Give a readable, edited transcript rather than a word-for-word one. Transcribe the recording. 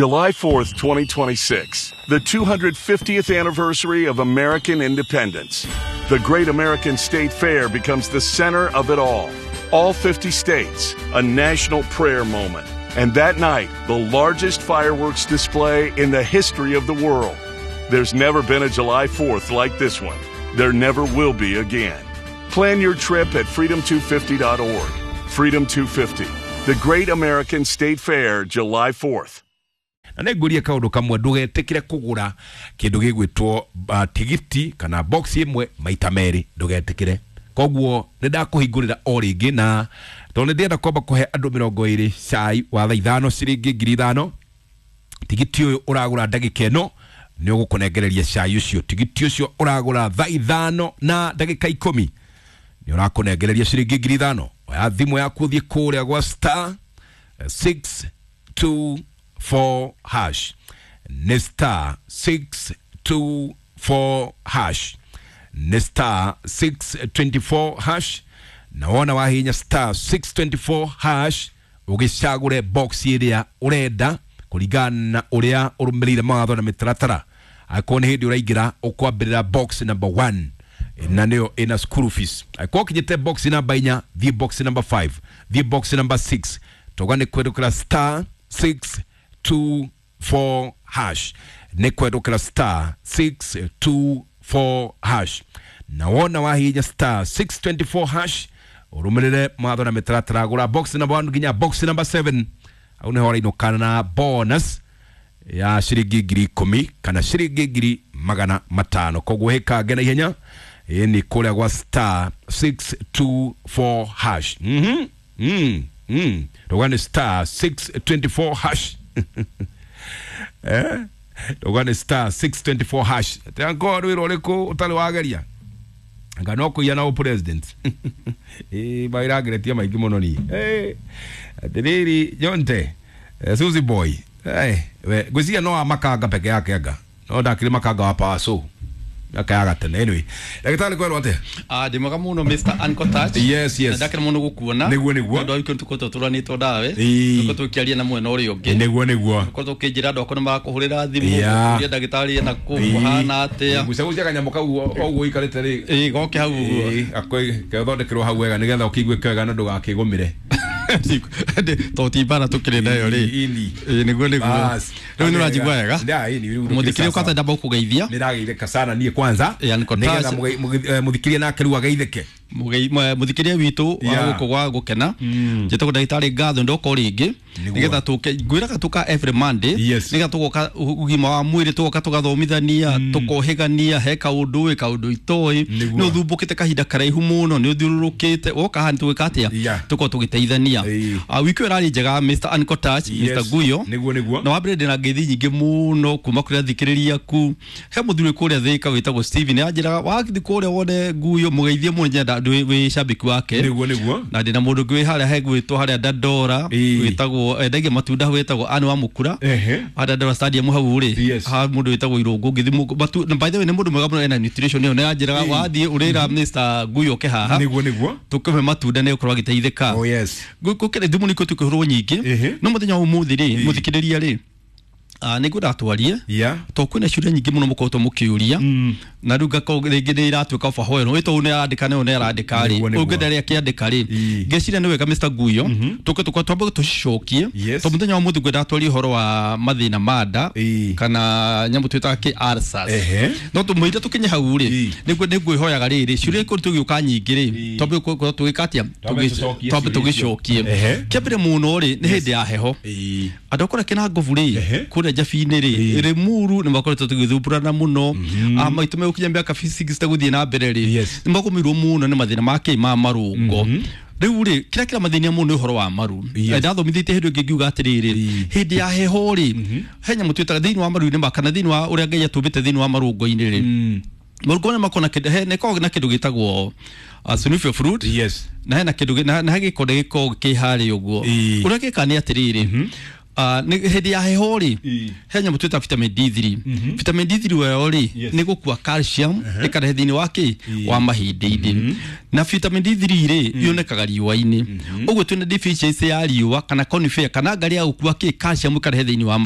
July 4th, 2026, the 250th anniversary of American independence. The Great American State Fair becomes the center of it all. All 50 states, a national prayer moment. And that night, the largest fireworks display in the history of the world. There's never been a July 4th like this one. There never will be again. Plan your trip at freedom250.org. Freedom 250, the Great American State Fair, July 4th. Na nä ngå kaå ndå kamwe ndå getä kå gå ra kä ndå gä gwä two tigiti kana box ĩmwe maita merĩ, ndũgetĩkĩre. Koguo nĩ ndakũhingũrĩra o rĩngĩ, na tondũ nĩ ndĩrenda kwamba kũhe andũ 20 cai wa thaa 5, ciringi 5,000. Tigiti ũyũ ũragũra ndagĩka ĩno nĩ ũgũkũnengereria cai ũcio. Tigiti ũcio ũragũra thaa 5 na ndagĩka 10 nĩ ũrakũnengereria ciringi 5,000. Oya thimũ yaku, ũthiĩ kũrĩa gwa *624 hash. Nĩ *624 hash, nĩ *624 hash. Na wona wahinya *624 hash, ũgĩcagũre box ĩrĩa ũrenda kũringana na ũrĩa ũrũmĩrĩire mawatho na mĩtaratara. Angĩkorwo nĩ hĩndĩ ũraingĩra, ũkwambĩrĩra box number 1, na nĩyo ĩna school fees. Angĩkorwo ũkinyĩte box namba 4, thiĩ box number 5, thiĩ box number 6. Toga nĩ kwendũkĩra *624 hash, nĩ kwendũkĩra *624 hash. Na wona wahihinya *624 hash, ũrũmĩrĩre mawatho na mĩtaratara, gũra box number 1 nginya box number 7, hau nĩho ũrainũkana na bonus ya ciringi 10,000 kana ciringi 500,000. Koguo hĩkange na ihenya, ĩ nĩ kũrĩa gwa *624 hash. Rũga nĩ *624 hash, eh, rũga nĩ *624 hash. Atĩ wĩra ũrĩkũ ũtarĩ wageria anga no kũiya na president ĩ mawĩra maingĩ mũno niĩ. Atĩrĩrĩ Jonte, Suzy boy, we ngwĩciria no wa makanga peke yake, anga no ndakĩrĩ makanga wa power so miaka ya gatene. Anyway, ndagĩtarĩ, kwerwo atĩa? Ah, ndĩ mwega mũno, Mr. Uncle Touch. Yes. Na ndakena mũno gũkuona. Nĩguo. Tondũ wiki tũkoretwo tũranĩtwo ndawe. Tũkoretwo tũkĩaria na mwena ũrĩa ũngĩ. Nĩguo. Tũkoretwo ũkĩnjĩra andũ akwa nĩ marakũhũrĩra thimũ. Kũria ndagĩtarĩ ena kũ kũhana atĩa. Gucagucia kanyamũ kau o ũguo ũikarĩte rĩ. Ĩĩ, goke hau ũguo. Ĩĩ, gethondekerwo hau wega nĩgetha ũkĩiguĩke wega na ndũgakĩgũmĩre. To ti mbara tũkĩrĩ nayo rĩ. Ini. Ĩĩ, nĩguo. Bas. Rĩu nĩ ũranjigua wega? Nda, ĩni, rĩu Mũthikĩria, kwanza ndamba gũkũgeithia. Nĩ ndageithĩka sana niĩ kwanza. Ĩĩ, Uncle nĩgetha Touch. mũthikĩria nake rĩu ageithĩke. Mũthikĩria witũ wa gũkũ gwa gũkena, njĩtagwo ndagĩtarĩ Ngatho, ndoka o rĩngĩ nĩgetha tũke. Ngwĩraga tũka every Monday nĩgetha tũgoka ũgima wa mwĩrĩ, tũgoka tũgathomithania, tũkohĩgania he kaũndũ ĩ kaũndũ itoĩ. Nĩ ũthumbũkĩte kahinda karaihu mũno, nĩ ũthiũrũrũkĩte, woka haha nĩ tũgwĩka atĩa? Tũkorwo tũgĩteithania. Wiki ĩyo ĩrarĩ njega, Mr. Uncle Touch, Mr. Guyo. Nĩguo. Na wambere ndĩna ngeithi nyingĩ mũno kuma kũrĩ athikĩrĩria aku. He mũthuri kũrĩa Thĩka wĩtagwo Steven, anjĩraga wathiĩ kũrĩa wone Guyo mũgeithie mũno, nyenda wĩ shabiki wake. Nĩguo. Na ndĩna mũndũ ũngĩ wĩ harĩa he gwĩtwo harĩa Dandora, wĩtagwo endagia matunda, wĩtagwo Anne wa Mũkura, harĩa Dandora Stadium hau rĩ. Ha mũndũ wĩtagwo Irũngũ ngĩthi na by the way nĩ mũndũ mwega mũno, ena nutrition ĩyo, nĩ anjĩraga wathiĩ ũrĩra Mr. Guyo ke haha Nĩguo. tũkĩhe matunda nĩ ũkorwo agĩteithĩka. Oh yes. Gũkĩrĩ thimũ nĩ tũkĩhũrwo nyingĩ. No mũthenya wa ũmũthĩ rĩ, mũthikĩrĩria rĩ, nĩ ngwenda twarie to kwĩna ciũria nyingĩ mũno mũkoretwo mũkĩũria, na rĩu ngakorwo rĩngĩ nĩ iratuĩka overwhelm ĩ tondũ nĩ arandĩka nĩyo nĩ arandĩka rĩ. Nĩguo. Ũngĩ arĩa akĩandĩka rĩ, ngeciria nĩ wega, Mr. Guyo, tũke tũka twambe tũcicokie. To mũthenya wa ũmũthĩ ngwenda twarie ũhoro wa mathĩna ma nda kana nyamũ twĩtaga kĩ ulcers. No tũmũire tũkinye hau rĩ, nĩguo nĩngwĩhoyaga rĩrĩ ciũria ikorwo tũgĩũka nyingĩ rĩ, twambe gũkorwo tũgĩka atĩa? Twambe tũcokie Twambe ciũria icio. tũgĩcokie. Kĩambere mũno rĩ, nĩ hĩndĩ ya heho, andũ akũrĩa kĩna ngobu rĩ, kũrĩa njabi-inĩ rĩ, Limuru, nĩ makoretwo tũgĩthumbũrana mũno. Maitũ megũkinya mĩaka 60 gũthiĩ na mbere rĩ, nĩ magũmĩirwo mũno nĩ mathĩna ma kĩ ma marũngo. Rĩu rĩ, kĩrĩa kĩramathĩnia mũno nĩ ũhoro wa maru. Ndathomithĩtie hĩndĩ ĩngĩ ngiuga atĩrĩrĩ, hĩndĩ ya heho rĩ, he nyamũ twĩtaga thĩinĩ wa maru-inĩ ma kana thĩinĩ wa ũrĩa Ngai atũmbĩte thĩinĩ wa marũngo-inĩ rĩ, marũngo marĩa makoragwo na kĩndũ nĩ koragwo na kĩndũ gĩtagwo synovial fluid. Na hena kĩndũ na he gĩkonde gĩkoragwo kĩ harĩa ũguo. Ũrĩa gĩkaga nĩ atĩrĩrĩ, nĩ hĩndĩ ya heho rĩ, he nyamũ twĩta vitamin D3. Vitamin D3 weyo rĩ, nĩ gũkua calcium ĩkarehe thĩinĩ wa kĩ wa mahĩndĩ-inĩ. Na vitamin D3 rĩ, yonekaga riũa-inĩ. Ũguo twĩna deficiency ya riũa kana conifer kana ngarĩ ya gũkua kĩ calcium ĩkarehe thĩinĩ wa